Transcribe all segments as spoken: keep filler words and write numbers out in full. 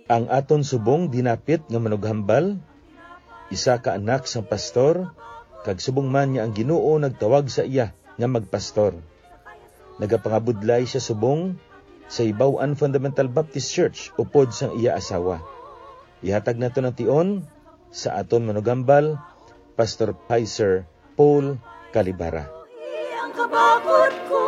Ang aton subong dinapit nga manughambal, isa ka anak sang pastor, kag subong man nga ang Ginoo nagtawag sa iya nga magpastor. Nagapangabudlay siya subong sa Hibaw-an Fundamental Baptist Church upod sang iya asawa. Ihatag naton ang tion sa aton manughambal, Pastor Pizer Paul Calibara. Ang kabakod ko.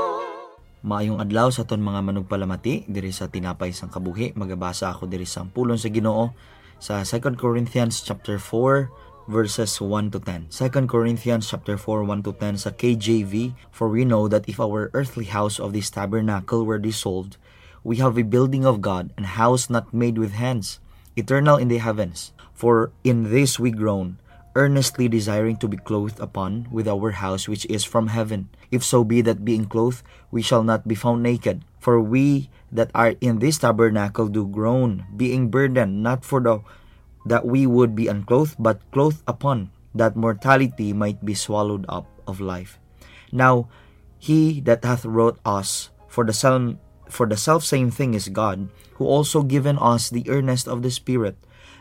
Maayong adlaw sa aton mga manugpalamati diri sa Tinapay sang Kabuhi. Magabasa ako diri sa pulong sa Ginoo sa Second Corinthians chapter four, verses one to ten. Second Corinthians chapter four, one to ten sa K J V. "For we know that if our earthly house of this tabernacle were dissolved, we have a building of God, an house not made with hands, eternal in the heavens. For in this we groan, earnestly desiring to be clothed upon with our house which is from heaven. If so be that being clothed, we shall not be found naked. For we that are in this tabernacle do groan, being burdened, not for the that we would be unclothed, but clothed upon, that mortality might be swallowed up of life. Now, he that hath wrought us for the self, for the self same thing is God, who also given us the earnest of the Spirit.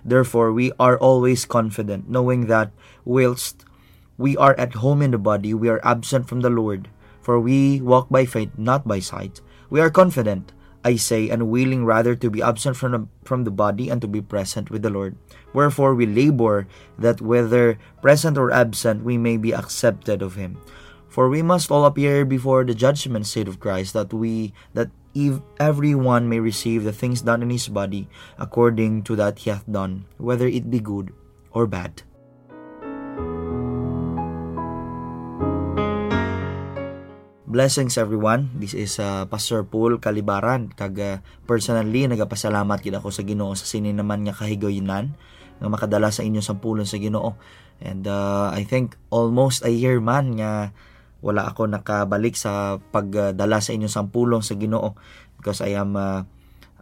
Therefore, we are always confident, knowing that whilst we are at home in the body, we are absent from the Lord. For we walk by faith, not by sight. We are confident, I say, and willing rather to be absent from the, from the body and to be present with the Lord. Wherefore we labor, that whether present or absent, we may be accepted of him. For we must all appear before the judgment seat of Christ, that we that ev- every one may receive the things done in his body according to that he hath done, whether it be good or bad." Blessings, everyone. This is, uh, Pastor Paul Calibaran, kag, uh, personally nagapasalamat gid ako sa Ginoo sa sini naman nga kahigayunan nga makadala sa inyo sang pulong sa Ginoo. And, uh, I think almost a year man nga wala ako nakabalik sa pagdala sa inyo sang pulong sa Ginoo, because I am, uh,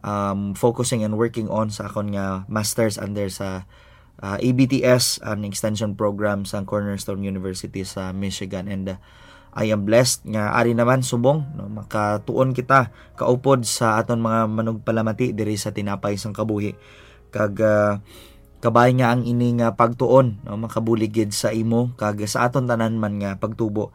um, focusing and working on sa akon nga masters under sa, uh, A B T S, an extension program sa Cornerstone University sa Michigan. And, uh, I am blessed nga ari naman subong, no, makatuon kita kaupod sa aton mga manugpalamati diri sa Tinapay sang Kabuhi. Kag, uh, kabay nga ang ini nga pagtuon, no, makabulig gid sa imo kag sa aton tanan man nga pagtubo.